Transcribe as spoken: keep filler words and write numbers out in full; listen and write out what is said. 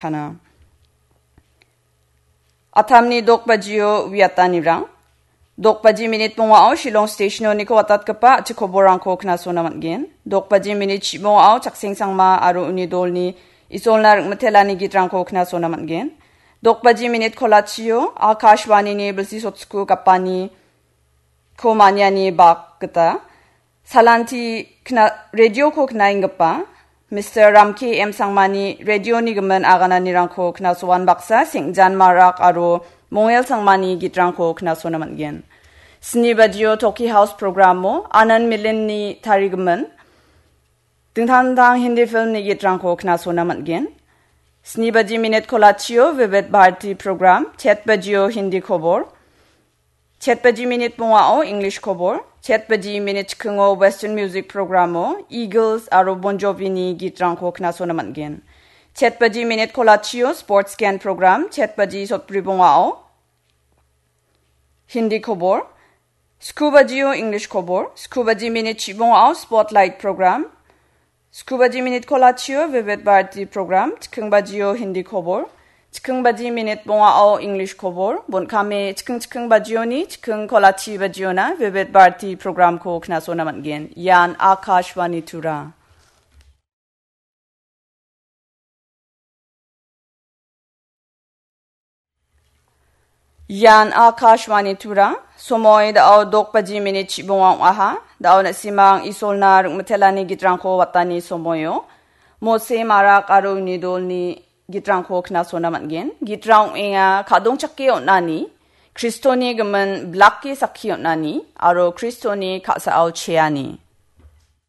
Kana. Atamni dokbajio wiatanirang. Dokbaji minit bongao Shillong Stationoniko watatgipa a·chik koborrangko knasona man·gen. Dokbaji minit chibongao Chakseng Sangma aro uni dolni Isolna ringmitelani gitrangko knasona man·gen. Dokbaji minit kolachio Akashvanini bilsi sotsku gapani ko maniani bak gita salanti kna-, radioko knaenggipa Mister Ramki M Sangmani radioni gimin agananirangko knasoan baksa Sengjan Marak aro Mongel Sangmani gitrangko knasona man·gen. Sni bajio Toki House programo Anand Milinni tarigimin dingtang dingtang Hindi filmni gitrangko knasona man·gen. Sni baji minit kolachio Vivid Bharati program, chet bajio Hindi kobor, chet baji minit bongao English kobor, chet baji minit chikingo Western music programo Eagles aro Bon Jovini gitrangko knasona man·gen. Chet baji minit kolachio sports scan program, chet baji sotbri bongao Hindi kobor, sku bajio English kobor, sku baji minit chibongao Spotlight program, sku baji minit kolachio Vivid Bharati program, chiking bajio Hindi kobor, chiking baji minit bongao English kobor, bon·kame chiking chiking bajioni, chiking kolachi bajiona Vivid Bharati programko knasona man·gen. Ian Akashvani Tura. Ian Akashvani Tura, somoi da·o dok baji minit chibonga ong·aha. Da·o na·simang Isolna ringmitelani gitrangko watani somoio. Mose Marak aro uni dolni gitrangko knasona man·gen. Gitrang ong·enga kadongchake on·ani, Kristoni gimin bilake sakki on·ani, aro Kristoni ka·sao cheani.